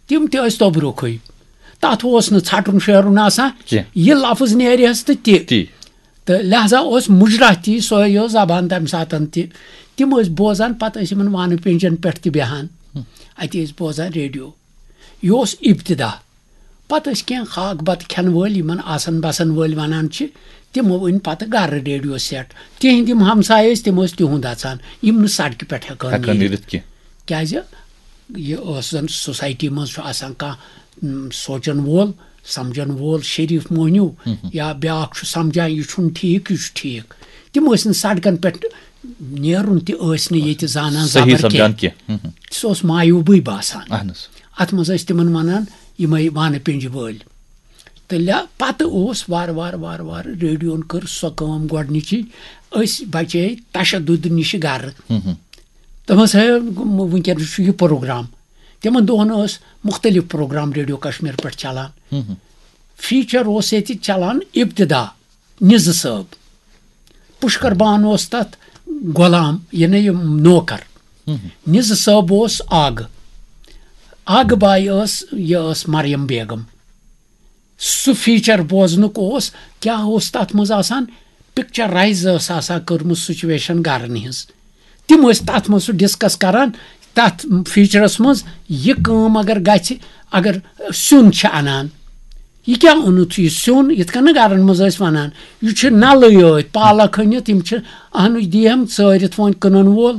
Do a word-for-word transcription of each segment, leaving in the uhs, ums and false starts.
تِم تہِ ٲسۍ توٚبرُکھٕے۔ تَتھ اوس نہٕ ژھٹُن شیرُن آسان۔ کینٛہہ۔ یہِ لفظ نیرِہَس تہٕ تہِ۔ تی۔ تہٕ لہذا اوس مُجراہ تی، سۄے یۄس زبان تَمہِ ساتَن تہِ۔ تِم ٲسۍ بوزان، پَتہٕ ٲسۍ یِمَن وانہٕ پیٚنجَن پٮ۪ٹھ تہِ بیٚہان۔ اَتہِ ٲسۍ بوزان ریڈیو۔ یہِ اوس ابتدا۔ پَتہٕ ٲسۍ کینٛہہ خاک بَتہٕ کھٮ۪ن وٲلۍ، یِمَن آسَن بَسَن وٲلۍ وَنان چھِ، تِمو أنۍ پَتہٕ گَرٕ ریڈیو سیٹ۔ تِہِنٛدۍ یِم ہمسایہِ ٲسۍ، تِم ٲسۍ تِہُنٛد اَژان، یِم نہٕ سڑکہِ پٮ۪ٹھ ہٮ۪کہٕ ہن ہٮ۪کہٕ ہن نیٖرِتھ۔ نیٖرِتھ کینٛہہ۔ کیٛازِ یہِ ٲس زَن سوسایٹی منٛز چھُ آسان کانٛہہ، م، سونٛچَن وول، سَمجَن وول، شریٖف موہنیوٗ، یا بیٛاکھ چھُ سَمجھان، یہِ چھُنہٕ ٹھیٖک، یہِ چھُ ٹھیٖک۔ تِم ٲسۍ نہٕ سڑکَن پٮ۪ٹھ نیرُن تہِ ٲسۍ نہٕ ییٚتہِ زانان صحیح زبر سَمجھان کینٛہہ۔ کینٛہہ۔ ہُم، ہُم۔ سُہ اوس معیوٗبٕے باسان۔ اَہَن حظ۔ اَتھ منٛز ٲسۍ تِمَن وَنان یِمَے وانہٕ پیٚنجہِ وٲلۍ۔ تہٕ لہ-، پَتہٕ اوس وارٕ وارٕ وارٕ وارٕ ریڈیوَن کٔر سۄ کٲم گۄڈٕنِچی، أسۍ بَچے تشدد نِشہِ گَرٕ۔ ہُم، ہُم۔ دوٚپمَس، "ہے، وٕنکیٚنَس چھُ یہِ پروگرام۔" تِمَن دۄہَن ٲس مُختٔلِف پروگرام ریڈیو کشمیر پٮ۪ٹھ چلان۔ ہُم، ہُم۔ فیچر اوس ییٚتہِ چلان ابتدا نِزٕ صٲب۔ پُشکر بان اوس تَتھ غلام، یعنی یہِ نوکر۔ ہُم، ہُم۔ نِزٕ صٲب اوس آگہٕ۔ آگہٕ باے ٲس، یہِ ٲس مریم بیگم۔ سُہ فیچر بوزنُک اوس، کیٛاہ اوس تَتھ منٛز آسان؟ پکچرائز ٲس آسان کٔرمٕژ سچویشن گرن ہٕنٛز۔ تِم ٲسۍ تَتھ منٛز سُہ ڈسکس کران، تَتھ فیچرس منٛز یہِ کٲم اگر گژھِ، اگر سیُن چھِ اَنان، یہِ کیٛاہ اوٚنُتھ یہِ سیُن؟ یِتھ کٔنۍ نہٕ گرن منٛز ٲسۍ وَنان، یہِ چھُ نَلٕے یٲتۍ، پالک أنِتھ، یِم چھِ اَنٕچ دِیَم ژٲرِتھ وۄنۍ کٕنَن وول۔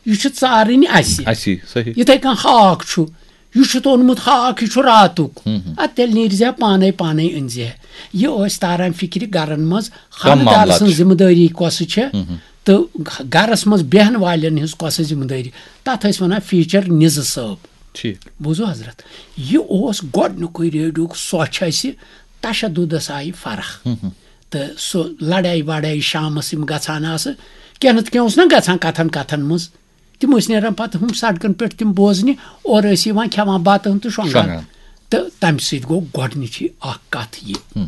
یہِ چھُ ژارٕنۍ اَسہِ۔ اَسی، صحیح۔ یِتھَے کٔنۍ ہاکھ چھُ، یہِ چھُتھ اوٚنمُت ہاکھ، یہِ چھُ راتُک۔ ہُم، ہُم۔ اَدٕ تیٚلہِ نیٖرزِ ہا پانَے، پانَے أنزِ ہا۔ یہِ ٲسۍ تاران فِکرِ گَرَن منٛز، کَم خانٛدار معاملات سٕنٛز چھِ۔ ذِمہٕ دٲری کۄسہٕ چھےٚ، ہُم، ہُم۔ تہٕ گَرَس منٛز بیٚہَن والٮ۪ن ہٕنٛز کۄسہٕ ذِمہٕ دٲری۔ تَتھ ٲسۍ وَنان فیٖچر نِزٕ صٲب۔ ٹھیٖک۔ بوٗزِو حضرت، یہِ اوس گۄڈٕنیُکُے ریڈیوُک سۄچھ اَسہِ، تشدُدَس آیہِ فرق۔ ہُم، ہُم۔ تہٕ سُہ لڑٲے وڑٲے شامس یِم گژھان آسہٕ، کینٛہہ نتہٕ کینٛہہ اوس نہ گژھان کتھن کتھن منٛز، تِم ٲسۍ نیران پتہٕ ہُم سڑکن پٮ۪ٹھ تِم بوزنہِ، اورٕ ٲسۍ یِوان کھٮ۪وان بتہٕ ہن تہٕ شۄنٛگان۔ شۄنٛگان۔ تہٕ تمہِ سۭتۍ گوٚو گۄڈٕنِچی اکھ کتھ یہِ۔ ہُم۔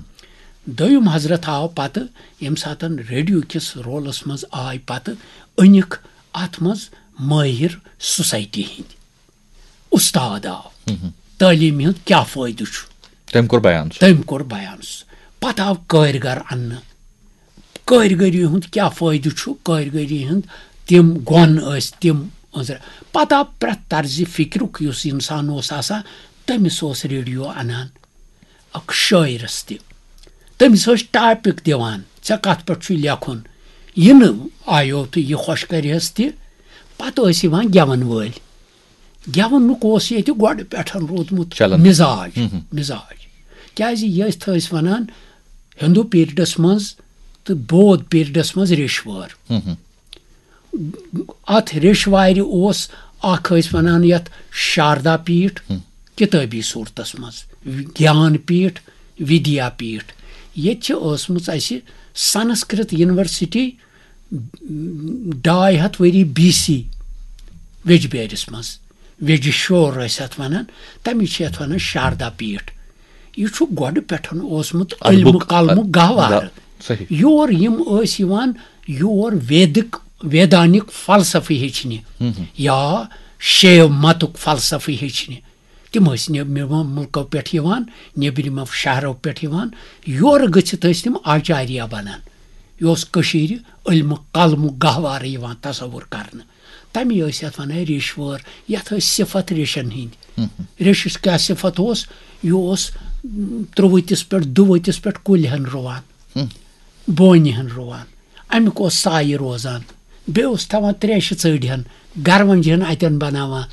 دوٚیُم حضرت آو پتہٕ، ییٚمہِ ساتن ریڈیو کِس رولس منٛز آے پتہٕ، أنِکھ اتھ منٛز مٲہر سوسایٹی ہٕنٛدۍ۔ استاد آو۔ ہُم۔ تعلیٖمہِ ہُنٛد کیٛاہ فٲیدٕ چھُ؟ تٔمۍ کوٚر بیان سُہ۔ تٔمۍ کوٚر بیان سُہ۔ پتہٕ آو کٲرۍ گر اننہٕ۔ کٲرۍ گٔری ہُنٛد کیٛاہ فٲیدٕ چھُ؟ کٲرۍ گٔری ہُنٛد تِم گۄن ٲسۍ، تِم أنٛزرٕ۔ پتہٕ آو پرٛٮ۪تھ طرزِ فِکرُک یُس اِنسان اوس آسان، تٔمِس اوس ریڈیو انان۔ اکھ شٲعرس تہِ۔ تٔمِس ٲسۍ ٹاپِک دِوان، "ژےٚ کتھ پٮ۪ٹھ چھُے لیکھُن؟" یہِ نہٕ آیو تہٕ یہِ خۄش کرِہس تہِ۔ پتہٕ ٲسۍ یِوان گٮ۪ون وٲلۍ۔ گٮ۪ونُک اوس ییٚتہِ گۄڈٕ پٮ۪ٹھ روٗدمُت چلان۔ مِزاج، ہُم ہُم۔ مِزاج۔ کیٛازِ یہِ ٲسۍ، تھٲے أسۍ وَنان، ہِندوٗ پیٖریڈَس منٛز تہٕ بودھ پیٖریڈَس منٛز ریٚشوٲر۔ ہُم ہُم۔ اَتھ ریٚشوارِ اوس اَکھ، ٲسۍ وَنان یَتھ شاردا پیٖٹھ، ہُم۔ کِتٲبی صوٗرتَس منٛز، گیان پیٖٹھ، وِدیا پیٖٹھ۔ ییٚتہِ چھِ ٲسمٕژ اَسہِ سنسکرت یونیورسٹی ڈاے ہتھ ؤری بی سی ویجبیٲرِس منٛز، ویجہِ شور ٲسۍ اَتھ وَنان، تَمِچ چھِ یَتھ وَنان شاردا پیٖٹھ۔ یہِ چھُ گۄڈٕ پٮ۪ٹھ اوسمُت علمُک علمُک قلمُک گہوارٕ۔ گہ-، صحیح۔ یور یِم ٲسۍ یِوان، یور ویدِک، ویدانِک فلسفہٕ ہیٚچھنہِ ہُم ہُم۔ یا شیو متُک فلسفہٕ ہیٚچھنہِ۔ تِم ٲسۍ نیٚبرِمو مُلکو پٮ۪ٹھ یِوان، نیٚبرِمو شہرو پٮ۪ٹھ یِوان، یورٕ گٔژھِتھ ٲسۍ تِم آچاریہ بَنان۔ یہِ اوس کٔشیٖرِ علمہٕ قلمُک گہوارٕ یِوان تصوُر کرنہٕ۔ تَمی ٲسۍ یَتھ وَنان ریٚشوٲر، یَتھ ٲسۍ صِفت ریٚشَن ہِنٛدۍ۔ ہُم ہُم۔ ریٚشِس کیٛاہ صِفت اوس؟ یہِ اوس، م، ترٛووُتِس پٮ۪ٹھ، دُوُتِس پٮ۪ٹھ کُلۍ ہَن رُوان۔ ہُم۔ بونہِ ہن رُوان۔ اَمیُک اوس سایہِ روزان۔ بیٚیہِ اوس تھاوان تریشہِ ژٔڑۍ ہن، گرونجہِ ہن اَتٮ۪ن بَناوان۔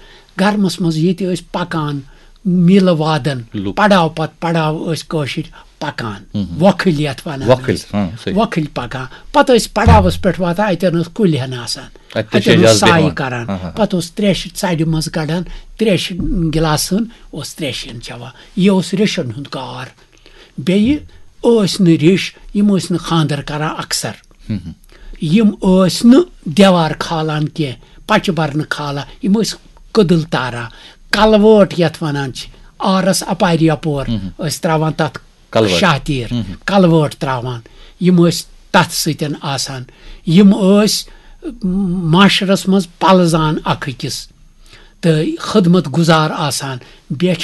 گرمَس منٛز ییٚتہِ ٲسۍ پَکان میٖلہٕ وادن، لُکھ۔ پڑاو پتہٕ پڑاو ٲسۍ کٲشِرۍ پَکان۔ ہُم ہُم۔ وۄکھٕلۍ یَتھ وَنان وۄکھٕلۍ، ٲسۍ۔ ہاں، صحیح۔ وۄکھٕلۍ پَکان۔ پَتہٕ ٲسۍ پڑاوَس پٮ۪ٹھ واتان، اَتٮ۪ن ٲس کُلۍ ہن آسان۔ اَتہِ تہِ چھِ اَتٮ۪ن اوس اعجاز سایہِ بیٚہوان۔ کران۔ ہاں، ہاں۔ پَتہٕ اوس تریشہِ ژَرِ منٛز کَڑان، تریشہِ گِلاسہٕ ہن اوس تریشہِ ہن چٮ۪وان۔ یہِ اوس ریٚشَن ہُنٛد کار۔ بیٚیہِ ٲسۍ نہٕ ریٚش، یِم ٲسۍ نہٕ خانٛدر کران اکثر۔ ہُم ہُم۔ یِم ٲسۍ نہٕ دیوار کھالان کینٛہہ، پچہِ برنہٕ کھالان، یِم ٲسۍ کٔدٕل تاران۔ کلوٲٹ یَتھ وَنان چھِ، آرس اپارِ یپور ہُم ہُم۔ ٲسۍ ترٛاوان تَتھ کلوٲٹ۔ شاہ تیٖر، ہُم ہُم۔ کلوٲٹ ترٛاوان۔ یِم ٲسۍ تَتھ سۭتۍ آسان۔ یِم ٲسۍ معاشرس منٛز پلزان اکھ أکِس تہٕ خدمت گُزار آسان۔ بیٚیہِ چھِ